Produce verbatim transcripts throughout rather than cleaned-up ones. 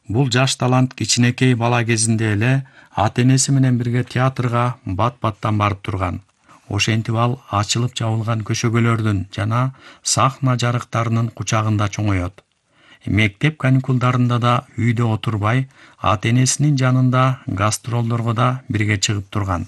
Бул жаш талант кичинекей бала кезинде эле ата-энеси менен бирге театрга бат-баттан барып турган. Ошентип ал ачылып жабылган көшөгөлөрдүн жана сахна жарыктарынын кучагында чоңоет. Мектеп каникулдарында да үйдө отурбай, ата-энесинин жанында гастролдорго да бирге чыгып турган.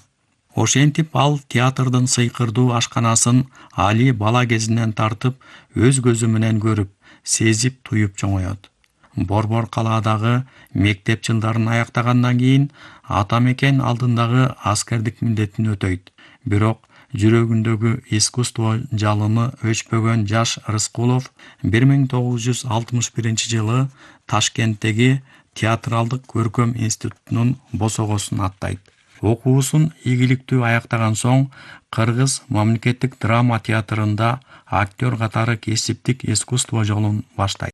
Ошентип ал театрдын сыйкырдуу ашканасын Али бала кезинен тартып өз көзү менен көрүп, сезип, туюп чоңоет. Борбор калаадагы мектеп жылдарын аяктагандан кийин ата мекен алдындагы аскердик милдетин өтөйт. Бирок жүрөгүндөгү искусство жалыны өчпөгөн жаш Рыскулов бир миң тогуз жүз алтымыш биринчи жылы Ташкенттеги театралдык көркөм институтунун босогосун аттайт. Окуусун ийгиликтүү аяктаган соң Кыргыз мамлекеттик драма театрында актер катары кесиптик искусство жолун баштайт.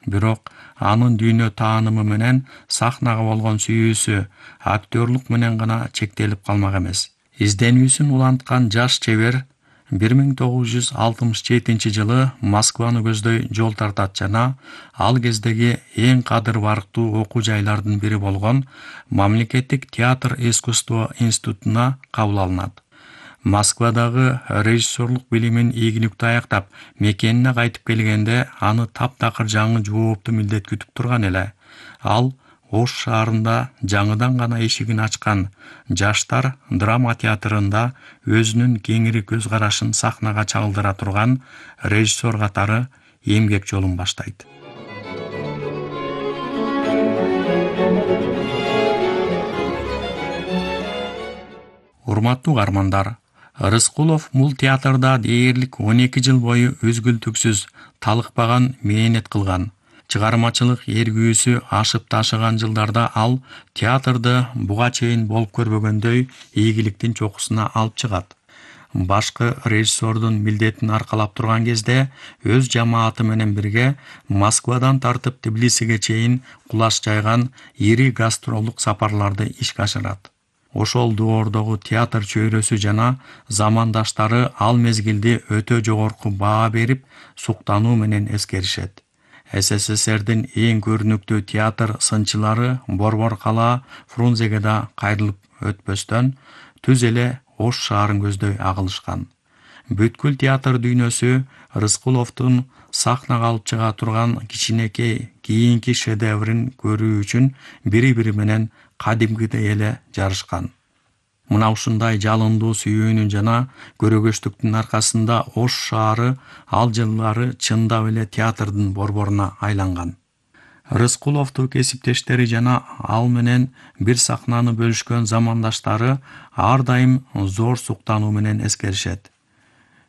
Бирок анын дүйнө таанымы менен сахнага болгон сүйүүсү актерлук менен гана чектелип калмак эмес. Изденүүсүн уланткан жаш чебер бир миң тогуз жүз алтымыш жетинчи жылы Москваны көздөй жол тартат жана ал кездеги эң кадыр барктуу окуу жайлардын бири болгон Мамлекеттик театр искусство институтуна кабыл алынат. Москвадагы режиссерлук билимин ийгиликтүү аяктап, мекенине кайтып келгенде аны таптакыр жаңы жооптуу милдет күтүп турган эле. Ал Ош шаарында жаңыдан гана эшигин ачкан жаштар драма театрында өзүнүн кеңири көз карашын сахнага чагылдыра турган режиссер катары эмгек жолун баштайт. Урматтуу каармандар, Рыскулов бул театрда дээрлик он эки жыл бою үзгүлтүксүз, талыкпаган мээнет кылган. Чыгармачылык эргүүсү ашып ташыган жылдарда ал театрды буга чейин болуп көрбөгөндөй ийгиликтин чокусуна алып чыгат. Башкы режиссердун милдетин аркалап турган кезде өз жамааты менен бирге Москвадан тартып Тбилисиге чейин кулаш жайган ири гастролдук сапарларды ишке ашырат. Ошол доордогу театр чөйрөсү жана замандаштары ал мезгилди өтө жогорку баа берип, суктануу менен эскеришет. СССРдин эң көрүнүктүү театр сынчылары Борбор калаа Фрунзеге да кайрылып өтпөстөн түз эле Ош шаарын көздөй агылышкан. Бүткүл театр дүйнөсү Рыскуловдун сахнага алып чыга турган кичинекей кийинки шедеврин көрүү үчүн бири-бири менен кадимкидей эле жарышкан. Мына ушундай жалындуу сүйүүнүн жана көрөгөчтүктүн аркасында Ош шаары ал жылдары чындап эле театрдын борборуна айланган. Рыскуловду кесиптештери жана ал менен бир сахнаны бөлүшкөн замандаштары ар дайым зор суктануу менен эскеришет.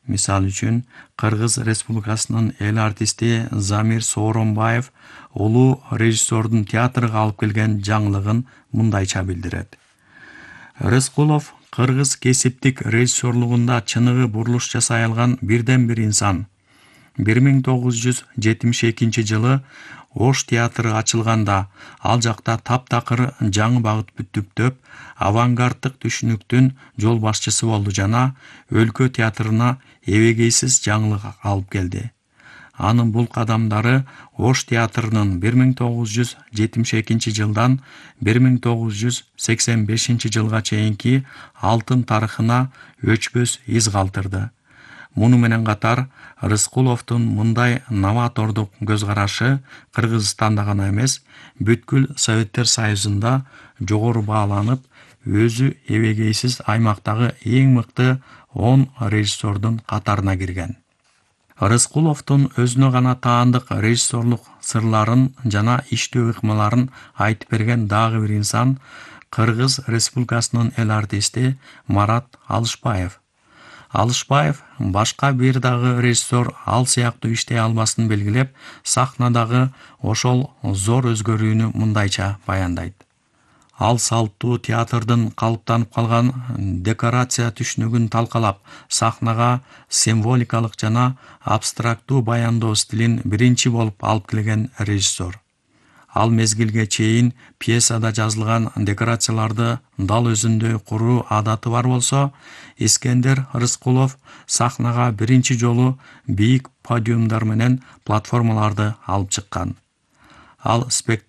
Мисалы үчүн, Кыргыз Республикасынын эл артисти Замир Сооронбаев улуу режиссердун театрга алып келген жаңылыгын мындайча билдирет. Рыскулов кыргыз кесиптик режиссерлугунда чыныгы бурулуш жасай алган бирден бир инсан. бир миң тогуз жүз жетимиш экинчи жылы Ош театры ачылганда ал жакта таптакыр жаңы багыт бүттүктөп, авангарддык түшүнүктүн жол башчысы болду жана өлкө театрына эбегейсиз жаңылык алып келди. Анын бул кадамдары Ош театрынын бир миң тогуз жүз жетимиш экинчи жылдан бир миң тогуз жүз сексен бешинчи жылга чейинки алтын тарыхына өчпөс из калтырды. Муну менен катар Рыскуловдун мындай новатордук көз карашы Кыргызстанда гана эмес, бүткүл Советтер Союзунда жогору бааланып, өзү эбегейсиз аймактагы эң мыкты он режиссердун катарына кирген. Рыскуловдун өзүнө гана таандык режиссерлук сырларын жана иштөө ыкмаларын айтып берген дагы бир инсан Кыргыз Республикасынын эл артисти Марат Алышбаев. Алышбаев башка бир дагы режиссер ал сыяктуу иштей албасын белгилеп, сахнадагы ошол зор өзгөрүүнү мындайча баяндайт. Ал салттуу театрдын калыптанып калган декорация түшүнүгүн талкалап, сахнага символикалык жана абстрактуу баяндоо стилин биринчи болуп алып келген режиссер. Ал мезгилге чейин пьесада жазылган декорацияларды дал өзүндөй куруу адаты бар болсо, Искендер Рыскулов сахнага биринчи жолу бийик подиумдар менен платформаларды алып чыккан. Ал спектакль